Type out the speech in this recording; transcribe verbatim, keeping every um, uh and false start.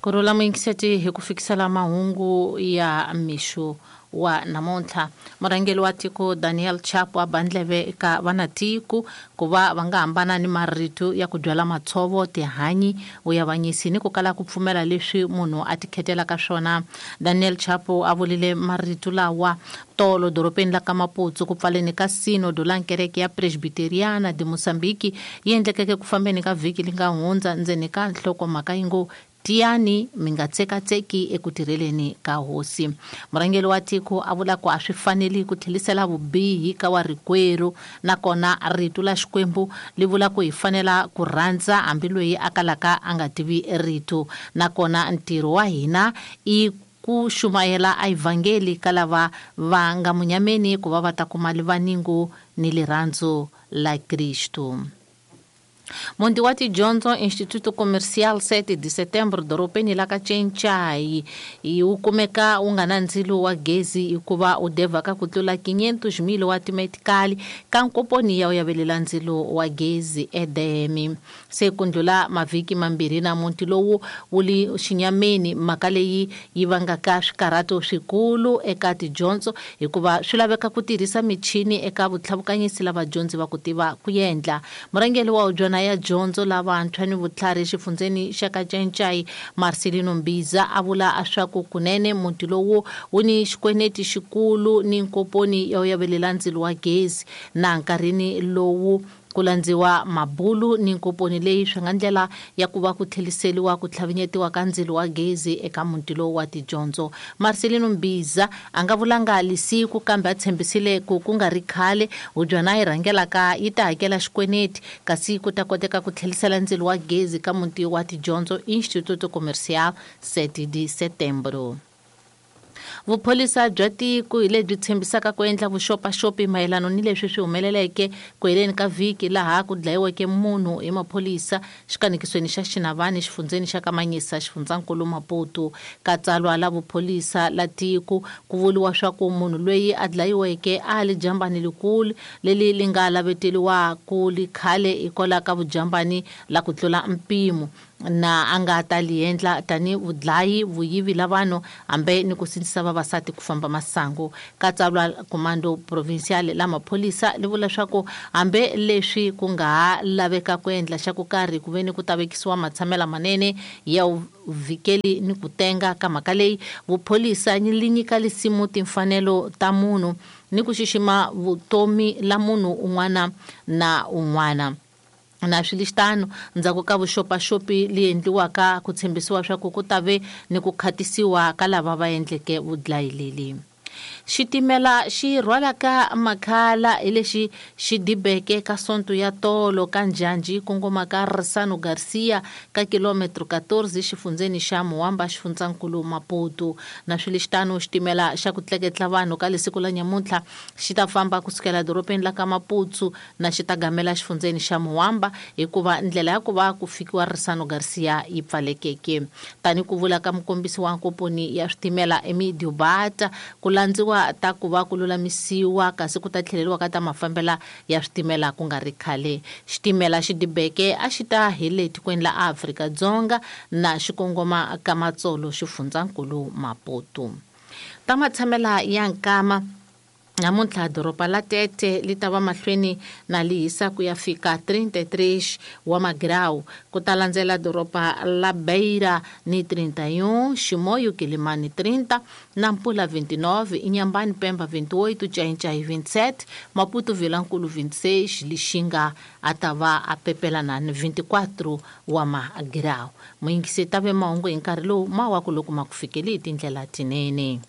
Kurhula muyingiseti hi ku fikisela mahungu ya mixo wa namuntlha. Murhangeri wa tiko Daniel Chapo a ba ndleve eka vanatiko ku va va nga hambana ni marito ya ku byala matshovo, tihanyi, vuyavanyisi ni ku kala ku pfumela leswi munhu a tikhetelaka swona. Daniel Chapo a vulile marito lawa tolo dorobeni la ka Maputo ku pfaleni ka sinodo la nkereke ya Presbiteriana de Mozambique yi endlekeke ku fambeni ka vhiki li nga hundza ndzeni ka nhlokomhaka yi ngo tiyani mi nga tsekatseki eku tirheleni ka hosi. Murhangeri wa tiko a vula ku a swi faneli ku tlhelisela vubihi ka wa rikwerhu, nakona rito la Xikwembu li vula ku hi fanela ku rhandza hambi loyi a kalaka a nga tivi rito, nakona ntirho wa hina i ku xumayela a evhangeli ka lava va nga munyameni ku va va ta kuma livaningo ni lirhandzu la Kristu. Muti wa tidyondzo Instituto Comercial sete de Setembro dorobeni la ka Txentxayi wu kumeka wu nga na ndzilo wa gezi hikuva wu devhaka ku tlula quinhentos mil wa timetikali ka nkomponi ya wu yavelela ndzilo wa gezi edeme. Se ku ndlula mavhiki mambirhi na muti lowu wu li xinyameni, mhaka leyi yi vangaka swikarhato swikulu eka tidyondzo hikuva swi laveka ku tirhisa michini eka vutlhavukanyisi la vadyondzi va ku tiva ku endla. Murhangeri wa hubyana ya dyondzo lavantshwa ni vutlhari exifundzeni xa ka Txentxayi Marcelino Mbiza a vula leswaku kunene muti lowu wu ni xikweneti xikulu ni nkomponi ya wu yavelela ndzilo wa gezi, na nkarhini lowu ku landziwa mabulu ni nkomponi leyi swi nga ndlela ya ku va ku tlheliseriwa ku tlhavinyetiwa ka ndzilo wa gezi eka muti lowu wa tidyondzo. Marcelino Mbiza a nga vulanga lisiku kambe a tshembisile ku ku nga ri khale hubyana yi rhangelaka yi ta hakela xikweneti kasi ku ta koteka ku tlhelisela ndzilo wa gezi ka muti wa tidyondzo Instituto Comercial sete de Setembro. Vupholisa bya tiko hi lebyi tshembisaka ku endla vuxopaxopi mayelana ni leswi swi humeleleke ku heleni ka vhiki laha ku dlayiweke munhu hi maphorisa xikanekisweni xa Xinavani xifundzeni xa Kamanyisa xifundzankulu Maputo. Ka tsalwa la vupholisa la tiko ku vuriwa swa ku munhu loyi a dlayiweke a li jambani likulu leli li nga laveteliwa ku li khale hikwalaho ka vujambani la ku tlula mpimo, na a nga ta li endla tani vudlayi vuyivi la vanhu hambe ni ku sindzisa vavasati ku famba masangu. Ka tsalwa comando provincial la mapholisa li vula leswaku hambe leswi ku nga ha laveka ku endla xa ku karhi ku ve ni ku ta vekisiwa matshamela manene ya vhikeli ni ku tenga ka mhaka leyi, vupholisa li nyika lisimu timfanelo ta munhu ni ku xixima vutomi la munhu un'wana na un'wana. Na swilistano ndzhaku ka vuxopaxopi li endliwaka ku tshembisiwa swa ku ku ta ve ni ku khatisiwa ka lava va endleke vudlayi leli. Xitimela xi rhwalaka makhala hi lexi xi dibeke ka sonto ya tolo ka njhanji kongoma ka Risano Garcia ka kilometro quatorze xifundzeni xa Muwamba xifundzankulu Maputo. Na swilistano xitimela xa ku tleketla vanhu ka lesiku la nyamuntlha xi ta famba kusukela dorobeni la ka Maputo na xi ta gamela xifundzeni xa Muwamba hikuva ndlela ya ku va ku fikiwa Risano Garcia yi pfalekeke. Tani ku vula ka mukombisi wa nkomponi ya switimela Emidio Bata ku landziwa ta ku va ku lulamisiwa kasi ku ta tlheleriwa ka ta mafambela ya switimela ku nga ri khale. Xitimela xi dibeke a xi ta hi le tikweni la Afrika-Dzonga na xikongoma ka Matsolo xifundzankulu Maputo. Ta matshamela ya nkama namuntlha doroba la Tete li ta va mahlweni na li hisa ku ya fika trinta e três wa magrau, ku ta landzela doroba la Beira ni trinta e um, Chimoio Quilimani trinta, Nampula vinte e nove, Inhambane Pemba vinte e oito, Txai-Txai vinte e sete, Maputo Vilankulo vinte e seis, Lixinga a ta va a pepelana ni vinte e quatro wa magrau. Muyingisi ta ve mahungu hi nkarhi lowu ma wa ku loko ma ku fikeli hi tindlela tinene.